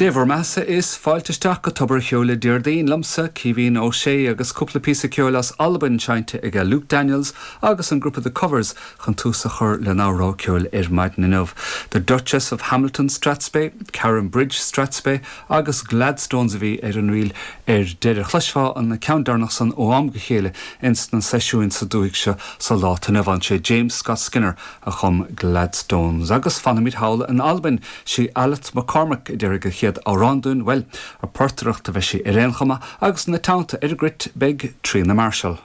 Dé bhur mbeathasa is fáilte isteach go Tobar a' Cheoil Déardaoin liomsa, Caoimhín Ó Sé, agus cúpla píosa ceoil as Albain seinnte aige Luke Daniels agus an grúpa The Covers chun tús a chur lenár rogha ceoil ar maidin inniu. The Duchess of Hamilton Strathspey, Carron Bridge Strathspey agus Gladstones a bhí ar an ríl ar deireadh. Chloisfeá an ceann deireanach san ó am go chéile ins na seisiúin sa dúthaigh seo sa lá atá inniu ann. Sé James Scott Skinner a chum Gladstones. Agus fanfaimid thall in Albain. Sí Alith McCormack a déarfaidh an chéad amhrán dúinn, bhuel, ag portaireacht a bheidh sí ar aon chuma, agus ina teannta ar an gcruit beidh Tríona Marshall.